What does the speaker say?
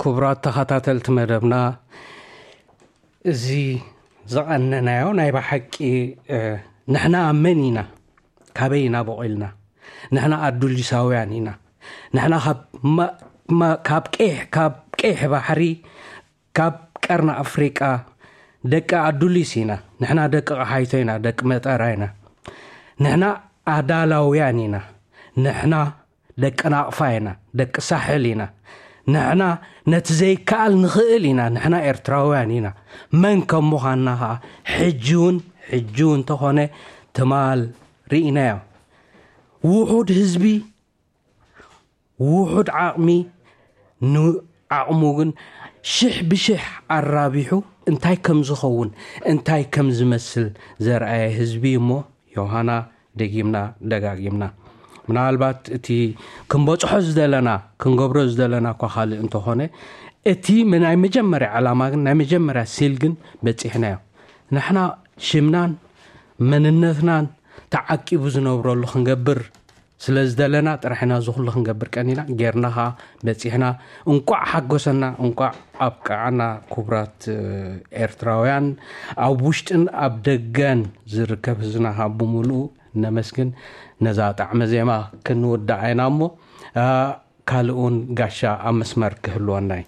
ክቡራት ተኸታተልቲ መደብና፣ እዚ ዝቐነናዮ ናይ ብሓቂ ንሕና መን ኢና፣ ካበይ ኢና በቒልና? ንሕና ኣዱሊሳውያን ኢና። ንሕና ካብ ቀይሕ ባሕሪ፣ ካብ ቀርኒ ኣፍሪቃ ደቂ ኣዱሊስ ኢና። ንሕና ደቂ ቐሓይቶ ኢና፣ ደቂ መጠራ ኢና። ንሕና ኣዳላውያን ኢና። ንሕና ደቂ ናቕፋ ኢና፣ ደቂ ሳሕል ኢና። ንሕና ነቲ ዘይከኣል ንኽእል ኢና። ንሕና ኤርትራውያን ኢና። መን ከም ምዃንና ኸኣ ሕጂ እውን፣ ሕጂ እውን እንተኾነ ትማል ርኢናዮ። ውሑድ ህዝቢ፣ ውሑድ ዓቕሚ፣ ንዓቕሙ ግን ሽሕ ብሽሕ ኣራቢሑ እንታይ ከም ዝኸውን፣ እንታይ ከም ዝመስል ዘርኣየ ህዝቢ እሞ፣ ዮሃና፣ ደጊምና ደጋጊምና፣ ምናልባት እቲ ክንበጽሖ ዝደለና፣ ክንገብሮ ዝደለና እኳ ካልእ እንተኾነ፣ እቲ ናይ መጀመርያ ዕላማ ግን፣ ናይ መጀመርያ ሲል ግን በጺሕናዮ። ንሕና ሽምናን መንነትናን ተዓቂቡ ዝነብረሉ ክንገብር ስለ ዝደለና ጥራሕ ኢና እዚ ኩሉ ክንገብር ቀኒና፣ ጌርና ኸኣ በጺሕና። እንቋዕ ሓጎሰና፣ እንቋዕ ኣብቅዓና። ክቡራት ኤርትራውያን፣ ኣብ ውሽጥን ኣብ ደገን ዝርከብ ህዝብና ካብ ብምሉኡ ነመስግን። ነዛ ጣዕመ ዜማ ክንውዳእ ኢና እሞ፣ ካልእ እውን ጋሻ ኣብ መስመር ክህልወና እዩ።